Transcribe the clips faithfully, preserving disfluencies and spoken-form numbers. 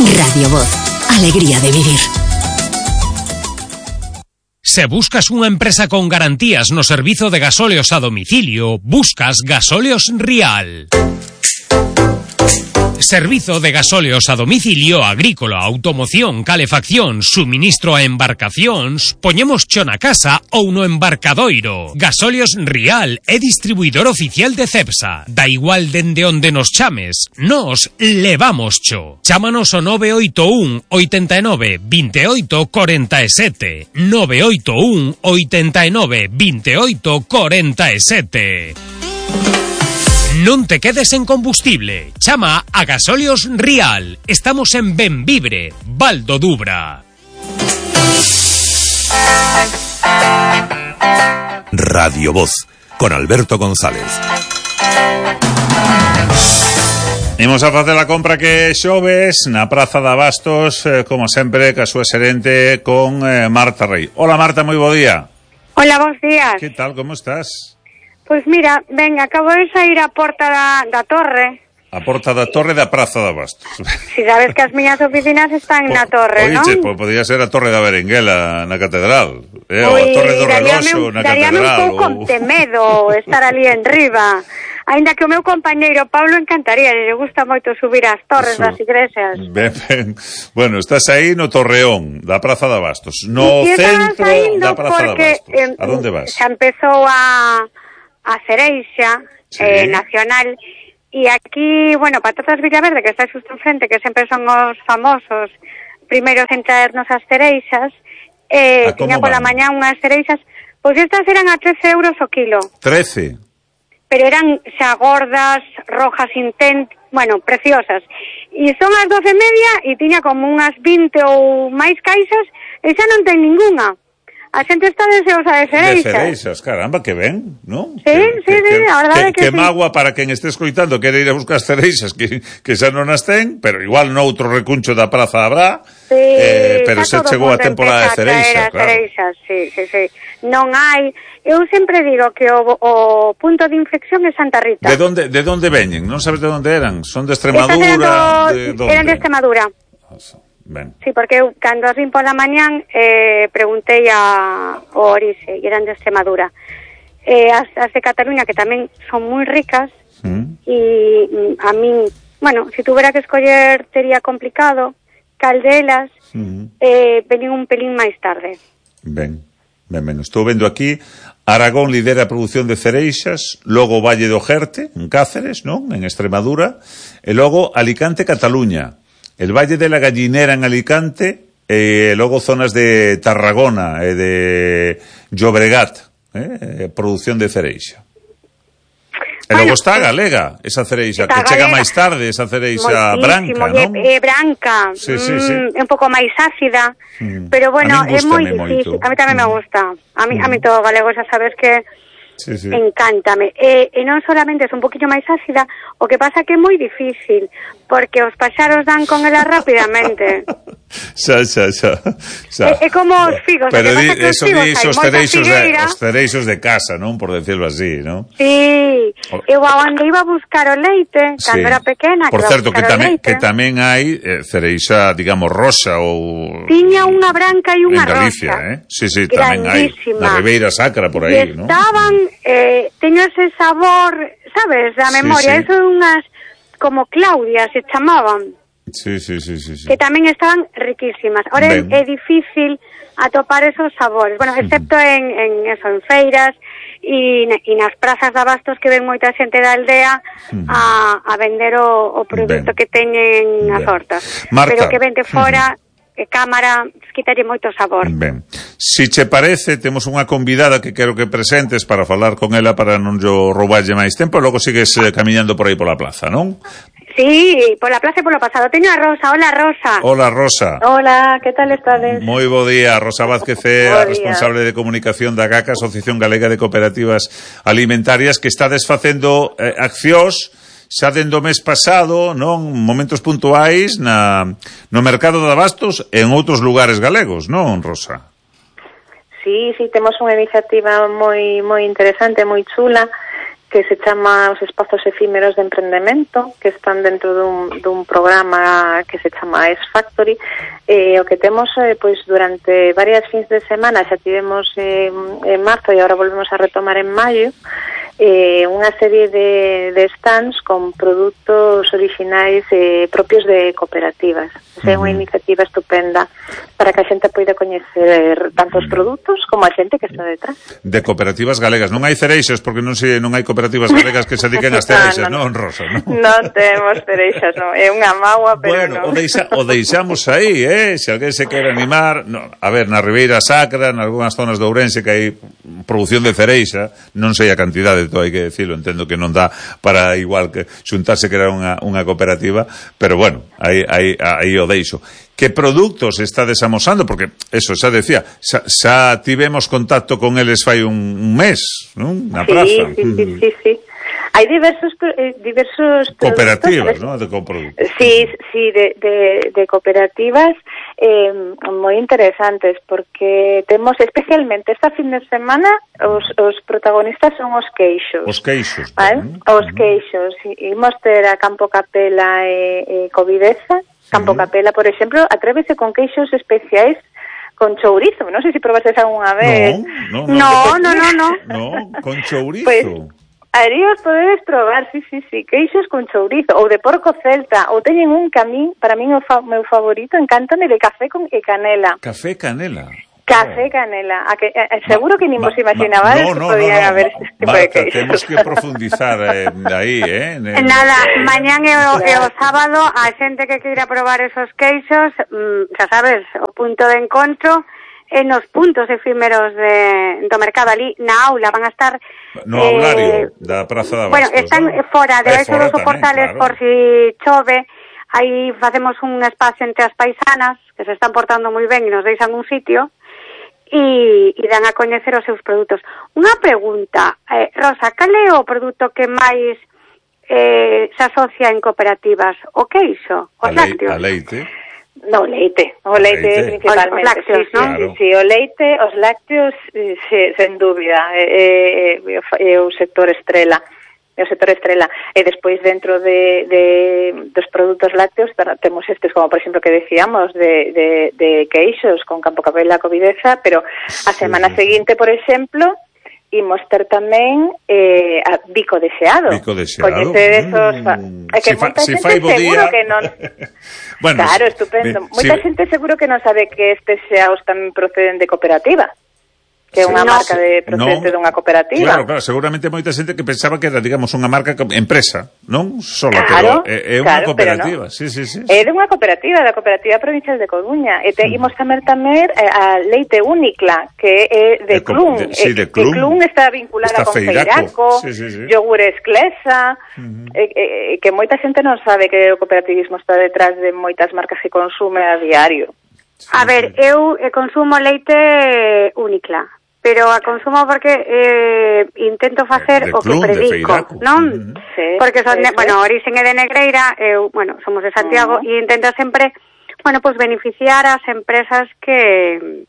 Radio Voz. Alegría de vivir. Se buscas unha empresa con garantías no servizo de gasóleos a domicilio, buscas Gasóleos Rial. Servizo de gasóleos a domicilio agrícola, automoción, calefacción, suministro a embarcacións, poñemos cho na casa ou no embarcadoiro. Gasóleos Rial é distribuidor oficial de Cepsa. Da igual dende onde nos chames, nos levamos cho. Chámanos ao nove oito un, oitenta e nove, vinte e oito, corenta e sete. nove oito un, oitenta e nove, vinte e oito, corenta e sete. Non te quedes en combustible. Chama a Gasóleos Rial. Estamos en Benvibre, Val do Dubra. Radio Voz, con Alberto González. Imos a facer a compra que xoves na Praza de Abastos, eh, como sempre, ca súa xerente con eh, Marta Rey. Hola Marta, moi bo día. Hola, bons días. Que tal, como estás? Pois mira, ven, acabo de sair a porta da, da torre. A porta da torre da Praza de Abastos. Si sabes que as miñas oficinas están po, na torre, non? Oiche, pues podía ser a torre da Berenguela na catedral, eh, ou a torre do reloxo na catedral. Daríame un pouco ou... de medo estar ali en riba. Ainda que o meu compañeiro Pablo encantaría, lle gusta moito subir as torres Eso. das igrexas. Ben, ben. Bueno, estás aí no Torreón da Praza de Abastos, no y centro da Praza porque, de Abastos. A donde vas? Xa empezou a, a cereixa sí. eh, nacional, e aquí, bueno, Patatas Villaverde, que está xusto enfrente, que sempre son os famosos primeiros en traernos as cereixas, eh, tiña pola mañá unhas cereixas, pois estas eran a trece euros o kilo. trece? Pero eran xa gordas, rojas intent, bueno, preciosas. E son as doce e media e tiña como unhas vinte ou máis caixas e xa non ten ninguna. A xente está deseosa de cereixas. De cereixas, caramba, que ben, non? Sí, que, sí, que, sí, a verdade que, que, que sí. magua para quen este escoitando quere ir a buscar cereixas que, que xa non as ten, pero igual no outro recuncho da praza habrá, sí, eh, pero se chegou a temporada de cereixas, claro. cereixas, sí, sí, sí. Non hai... Eu sempre digo que o, o punto de inflexión é Santa Rita. De donde, de donde veñen? Non sabes de onde eran? Son de Extremadura? Eran, do, de donde? Eran de Extremadura. Ben. Sí, porque eu, cando as vim pola mañán, eh, preguntei a o Orixe, e eran de Extremadura. Eh, as, as de Cataluña, que tamén son moi ricas, mm. e a min, bueno, se si tuvera que escoller, tería complicado, caldelas, mm. eh, venín un pelín máis tarde. Ben, ben, ben. Estou vendo aquí, Aragón lidera a produción de cereixas, logo Valle do Jerte, en Cáceres, non? En Extremadura, e logo Alicante, Cataluña. El Valle de la Gallinera en Alicante, e logo zonas de Tarragona e de Llobregat, eh, produción de cereixa. E logo está a galega, esa cereixa, que chega máis tarde, esa cereixa branca, non? É branca, sí, sí, sí. Mm, é un pouco máis ácida, mm. pero bueno, é moi difícil. A mí tamén mm. me gusta. A mí, mm. a mí todo galego, xa sabes que sí, sí. encántame. E, e non solamente é un poquinho máis ácida, o que pasa que é moi difícil, porque os paxaros dan con ela rápidamente. Xa, xa, xa. xa. É, é como os figos. Pero di, que eso di os cereixos de, os cereixos de casa, non? Por decirlo así, non? Sí. Eu onde iba a buscar o leite, cando sí. era pequena, por que certo, que tamén, leite, que tamén hai eh, cereixa, digamos, rosa ou... Tiña unha branca e unha rosa. En Galicia, rosa. eh? Sí, sí, tamén hai. Na Ribeira Sacra, por aí, non? Estaban, eh, teño ese sabor, sabes, da memoria, sí, sí. Eso é unhas, como Claudia, se chamaban. Sí, sí, sí, sí, sí. Que tamén estaban riquísimas. Ahora é, é difícil atopar esos sabores. Bueno, excepto uh-huh. en, en eso, en feiras e, e nas prazas de abastos que ven moita xente da aldea uh-huh. a, a vender o, o produto ben. que teñen as hortas. Marta, pero que vende fora... Uh-huh. que cámara quitalle moito sabor. Ben, si che parece, temos unha convidada que quero que presentes para falar con ela para non yo rouballe máis tempo, e logo sigues eh, camiñando por aí pola plaza, non? Sí, pola plaza e polo pasado. Teño a Rosa. Hola, Rosa. Hola, Rosa. Hola, que tal estades? Moi bo día. Rosa Vázquez é a responsable de comunicación da GACA, Asociación Galega de Cooperativas Alimentarias, que está desfacendo eh, accións xa dende o mes pasado, non, momentos puntuais na, no mercado de abastos e en outros lugares galegos, non, Rosa? Sí, sí, temos unha iniciativa moi moi interesante, moi chula, que se chama os espazos efímeros de emprendemento, que están dentro dun, dun programa que se chama X Factory. Eh, o que temos, eh, pois, durante varias fins de semana, xa tivemos eh, en marzo e agora volvemos a retomar en maio, eh, unha serie de, de stands con produtos orixinais eh, propios de cooperativas. É unha iniciativa estupenda para que a xente poida coñecer tanto os produtos como a xente que está detrás. De cooperativas galegas. Non hai cereixas, porque non sei, non hai cooperativas galegas que se dediquen ás cereixas, no, no, non, Rosa? Non, non temos cereixas, non. É unha mágoa, pero bueno, non. O, deixa, o deixamos aí, eh? Se alguén se quere animar... No, a ver, na Ribeira Sacra, en algunhas zonas de Ourense que hai produción de cereixa, non sei a cantidade, todo hai que decirlo, entendo que non dá para igual que xuntarse que era unha, unha cooperativa, pero bueno, aí, aí, aí o deixo. Que produtos estades amosando? Porque, eso, xa decía, xa, xa tivemos contacto con eles fai un, un mes, non? Na sí, praza. Sí, sí, sí, sí. Hai diversos eh, diversos cooperativas, ¿no? De coproductos. Sí, sí, de, de, de cooperativas eh, moi interesantes, porque temos especialmente esta fin de semana os, os protagonistas son os queixos. Os queixos. ¿Vale? Os queixos. Imos ter a Campo Capela e, e Covideza. Campo Capela, por exemplo, atrévese con queixos especiais con chourizo. Non sei se probaste algunha vez. No, no, no, no, no. No, con chourizo. Pues, aí os podedes probar, sí, sí, sí, queixos con chourizo, ou de porco celta, ou teñen un camín, para min o fa, meu favorito, encántame, de café con e canela. Café canela. Café canela. A que, eh, seguro que nin vos imaginabades no, no, que podían no, no, haber no. este tipo Marta, de queixos. Temos que profundizar eh, aí, eh? En... Nada, mañán e o, e o sábado, a xente que queira probar esos queixos, mm, xa sabes, o punto de encontro en os puntos efímeros de, do mercado ali na aula van a estar no eh, aulario da Praza de Abastos. Bueno, están ¿no? fora de eso dos soportales, claro. Por si chove, aí facemos un espacio entre as paisanas que se están portando moi ben e nos deixan un sitio e, e dan a coñecer os seus produtos. Unha pregunta, eh, Rosa, cal é o produto que máis eh, se asocia en cooperativas? O queixo? Os a lácteos? A leite? No, leite, o leite, leite. Principalmente. Os lácteos, sí, ¿no? Sí, sí, o leite, os lácteos, sí, sen dúbida, é, é, é o sector estrela. o sector estrela, e despois dentro de, de dos produtos lácteos temos estes, como por exemplo que decíamos de, de, de queixos con Campo Capela, Covideza, pero a semana sí. seguinte, por exemplo, imos ter tamén eh, a Bico Deseado. Bico Deseado. Coñecedes os... Mm. É que si moita fa, si xente seguro día... que non... bueno, claro, estupendo. Si... Moita xente seguro que non sabe que estes xeaos tamén proceden de cooperativa. Que é unha sí, marca de procedente no, dunha cooperativa. Claro, claro, seguramente moita xente que pensaba que era, digamos, unha marca empresa, non? Solo, claro, pero é, é unha claro, cooperativa. No. Sí, sí, sí. É de unha cooperativa, da Cooperativa Provincial de Coruña. E te, mm. imos tamén tamén a Leite Únicla, que é de, de Clun. De, sí, de Clun. Que Clun está vinculada está con Feiraco, sí, sí, sí. Yogur Esclesa, mm-hmm. e, e, que moita xente non sabe que o cooperativismo está detrás de moitas marcas que consume a diario. Sí, a ver, sí. eu consumo leite Únicla. Pero a consumo porque eh, intento facer de o Clun, que predico, non? Mm-hmm. Sí, porque son, de, bueno, orixen é de Negreira, eu, bueno, somos de Santiago, e uh-huh. intento sempre, bueno, pues beneficiar as empresas que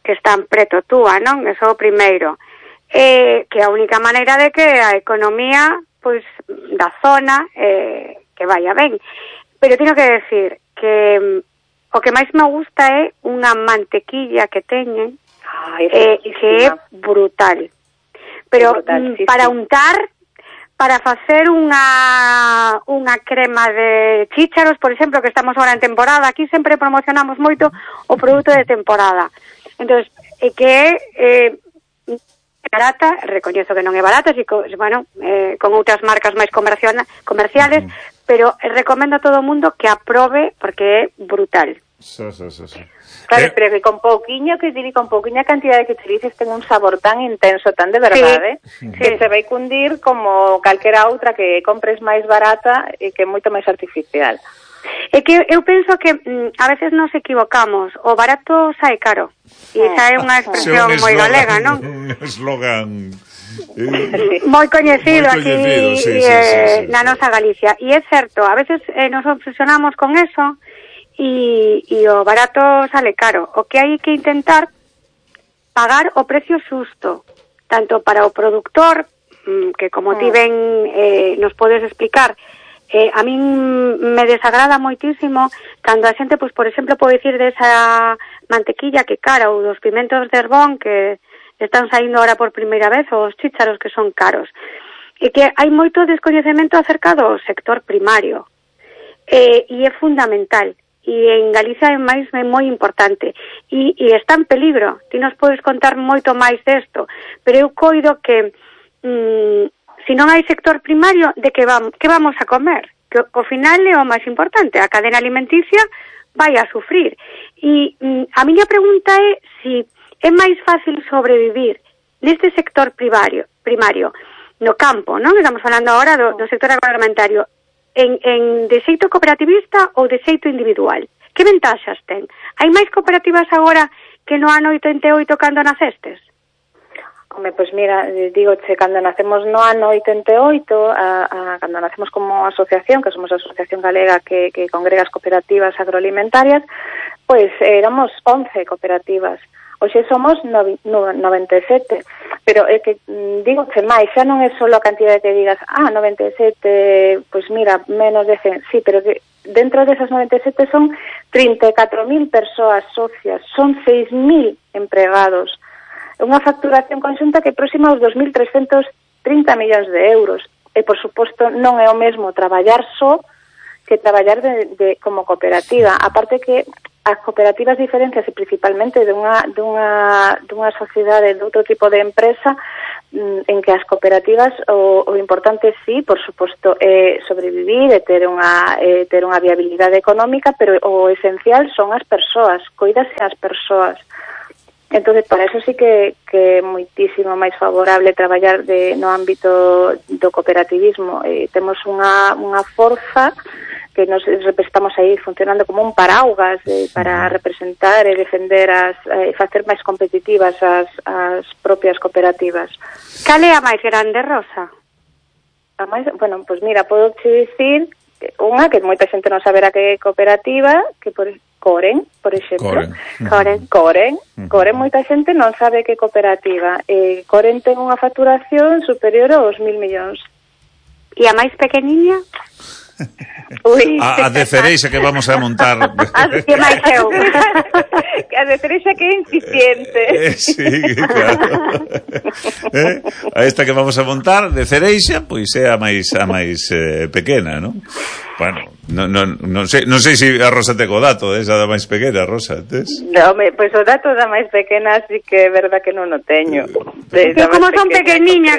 que están preto túa, non? Eso o primeiro. Eh, que a única maneira de que a economía, pois, pues, da zona, eh, que vaya ben. Pero teño que decir que mm, o que máis me gusta é unha mantequilla que teñen, Ay, eh, que é brutal. Pero brutal, sí, para sí. untar, para facer unha unha crema de chícharos, por exemplo, que estamos agora en temporada, aquí sempre promocionamos moito o produto de temporada. Entonces, é que é eh, barata, recoñezo que non é barata, si, bueno, eh, con outras marcas máis comerciales, uh-huh. pero recomendo a todo o mundo que aprobe porque é brutal. Sí, sí, sí, sí. Claro, eh, pero que con pouquiño que dir, con pouquiña cantidade que utilices ten un sabor tan intenso, tan de verdade, sí, que sí. se vai cundir como calquera outra que compres máis barata e que é moito máis artificial. É que eu penso que mm, a veces nos equivocamos, o barato sae caro. E esa é unha expresión moi galega, non? Un eslogan eh, moi coñecido aquí sí, sí, eh, sí, sí, na nosa Galicia. E é certo, a veces eh, nos obsesionamos con eso e, e o barato sale caro. O que hai que intentar pagar o precio xusto, tanto para o productor que como ti ben eh, nos podes explicar, eh, a min me desagrada moitísimo cando a xente, pois, por exemplo, pode dicir desa mantequilla que cara, ou dos pimentos de Herbón que están saindo ahora por primeira vez, ou os chícharos que son caros. E que hai moito descoñecemento acerca do sector primario. Eh, e é fundamental. E en Galicia é máis é moi importante e, e está en peligro. Ti nos podes contar moito máis desto, pero eu coido que mm, se non hai sector primario, de que vamos, que vamos a comer? Que ao final é o máis importante, a cadena alimenticia vai a sufrir. E mm, a miña pregunta é se é máis fácil sobrevivir neste sector primario, primario no campo, non? Estamos falando agora do, do sector agroalimentario. En, en de xeito cooperativista ou de xeito individual? Que ventaxas ten? Hai máis cooperativas agora que no ano oitenta e oito cando nacestes? Home, pois mira, digo, che, cando nacemos no ano oitenta e oito, a, a, cando nacemos como asociación, que somos a Asociación Galega que, que congrega as cooperativas agroalimentarias, pois éramos once cooperativas. Hoxe somos noventa e sete, pero é que, digo, che máis, xa non é só a cantidad que digas, ah, noventa e sete, pois mira, menos de cen, sí, pero que dentro desas noventa e sete son trinta e catro mil persoas socias, son seis mil empregados, unha facturación conxunta que é próxima aos dos mil trescentos trinta millóns de euros, e, por suposto, non é o mesmo traballar só que traballar de, de, como cooperativa, aparte que as cooperativas diferencias principalmente dunha, dunha, dunha sociedade de outro tipo de empresa en que as cooperativas o, o importante sí, por suposto, é sobrevivir e ter unha, é ter unha viabilidade económica, pero o esencial son as persoas, coídase as persoas. Entonces, para eso sí que, que é moitísimo máis favorable traballar de, no ámbito do cooperativismo. Eh, temos unha, unha forza que nos estamos aí funcionando como un paraugas eh, para representar e defender as, e eh, facer máis competitivas as, as propias cooperativas. Cal é a máis grande, Rosa? A máis, bueno, pois mira, podo te dicir unha que moita xente non saberá que é cooperativa, que por Coren, por exemplo. Coren. Coren. Coren. Uh-huh. Coren, moita xente non sabe que é cooperativa. Eh, Coren ten unha facturación superior aos mil millóns. E a máis pequeniña? Uy. A, a de cereixa que vamos a montar. Que máis eu. A de cereixa que é incipiente. Eh, sí, claro. Eh? A esta que vamos a montar de cereixa, pois é a máis a máis eh, pequena, non? Bueno, non, non, non sei, non sei se a Rosa te co dato esa da máis pequena, Rosa, tes? No, me, pois o dato da máis pequena sí que é verdad que non o teño. De, que como son pequeniña,